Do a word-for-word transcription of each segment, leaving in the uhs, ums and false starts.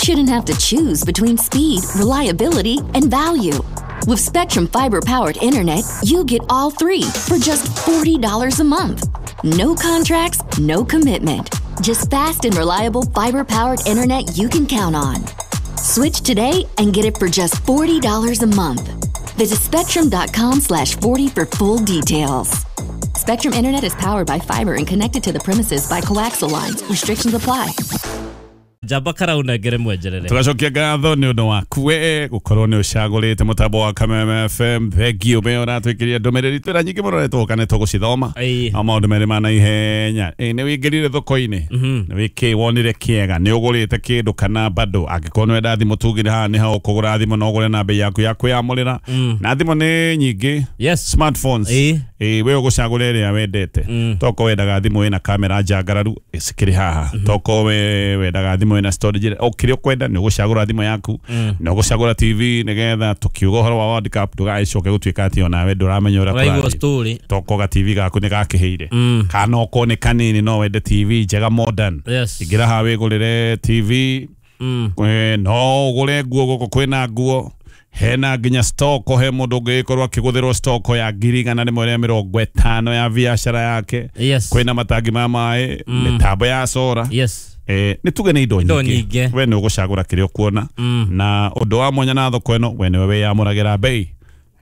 shouldn't have to choose between speed, reliability, and value. With Spectrum Fiber powered internet, you get all three for just forty dollars a month. No contracts, no commitment. Just fast and reliable fiber powered internet you can count on. Switch today and get it for just forty dollars a month. Visit spectrum dot com slash forty for full details. Spectrum Internet is powered by fiber and connected to the premises by coaxial lines. Restrictions apply. Njamba karaunengere mwenjerere. Tugacokia ngatho nĩ ũndũ waku we gũkorwo nĩ ũcagũrĩte mũtambo wa Kameme F M. Thengiũ me ũratwĩkĩria ndũmĩrĩri twĩra nyingĩ mũno nĩ tũgũka nĩ tũgũcithoma. Ĩĩ. No maũndũ merĩ ma naihenya. Ĩ, nĩ wĩingĩrire thoko-inĩ, nĩ wĩkĩ wonire kĩega, nĩ ũgũrĩte kĩndũ kana bado? Angĩkorwo nĩ wenda thimũ, tugire haha nĩ ho ũkũgũra thimũ na ũgũre na bei yaku ya kwĩyamũrĩra, na thimũ nĩ nyingĩ, yes smartphones. Ĩĩ. Ĩ, we ũgũcagũra ĩrĩa wendete. Toko wendaga thimũ ĩna kamera njangararu, cikĩrĩ haha. Toko we wendaga thimũ ĩna storage, o kĩrĩa ũkwenda nĩ ũgũcagũra thimũ yaku, na ũgũcagũra T V, nĩgetha tũkiuga ũhoro wa World Cup ndũgagĩcoke gũtuĩka atĩ onawe ndũramenya ũrĩa ũraigua kũrathiĩ. Story. Toko ga T V gaku nĩ gakĩhĩire, kana okorwo nĩ kanini no wende T V njega modern, yes ingĩra haha wĩgũrĩre T V. Mm. Eh, no ũgũre nguo gũkũ, kwĩna nguo, hena nginya stock, he mũndũ ũngĩgĩkorwo akĩgũthĩrwo stock ya ngiri igana rĩmwe rĩa mĩrongo ĩtano ya biacara yake. Yes kwĩna matangi ma maĩ, mĩtambo ya solar. yes Eh, nĩ tuge nĩ indo Indo nyingĩ. nyingĩ. We nĩ ũgũcagũra kĩrĩa ũkuona, na ũndũ wa mwanya na thoko ĩno, we nĩwe wĩyamũragĩra bei.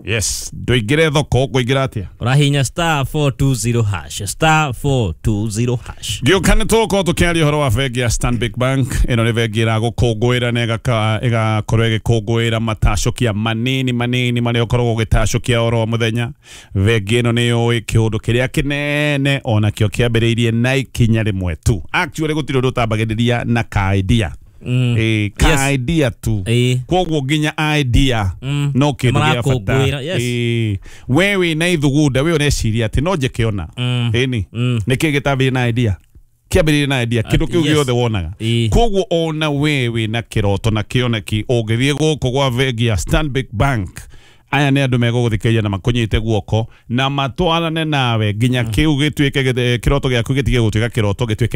Yes, ndũingĩre thoko, ũkũingĩra atĩa? Ũrahinya star four two zero hash, star four two zero hash. Gĩũka nĩ tũgũkorwo tũkĩaria ũhoro wa bengi ya Stanbic Bank. Ĩno nĩ bengi ĩragũkũngũĩra na ĩgaka- ĩgakorwo ĩgĩkũngũĩra matacũkia manini manini marĩa ũkoragwo ũgĩtacũkia oro mũthenya. Bengi ĩno nĩ yũĩ kĩũndũ kĩrĩa kĩnene onakĩo kĩambĩrĩirie na ikinya rĩmwe tu. Actually, gũtirĩ ũndũ ũtambagĩrĩria na ka idea. Mm. Ĩ, ka Yes. idea tu. Ĩĩ. Koguo nginya idea Mm. no kĩndũ gĩa bata. Marakũngũĩra, yes. Ĩ, we wĩna ithugunda, we ũreciria atĩ no njĩke ona. Mm. Ĩni Mm. nĩkĩ gĩtambĩrĩrie na idea? Kĩambĩrĩrie na idea kĩndũ kĩu yes. gĩothe wonaga. Ĩĩ. Koguo ona we wĩna kĩroto na kĩoneki, ũngĩthiĩ gũkũ gwa bengi ya Stanbic Bank, aya nĩ andũ megũgũthikĩrĩria na makũnyite guoko na matwarane nawe nginya kĩu gĩtuĩke gĩte- kĩroto gĩaku gĩtige gũtuĩka kĩroto, gĩtuĩke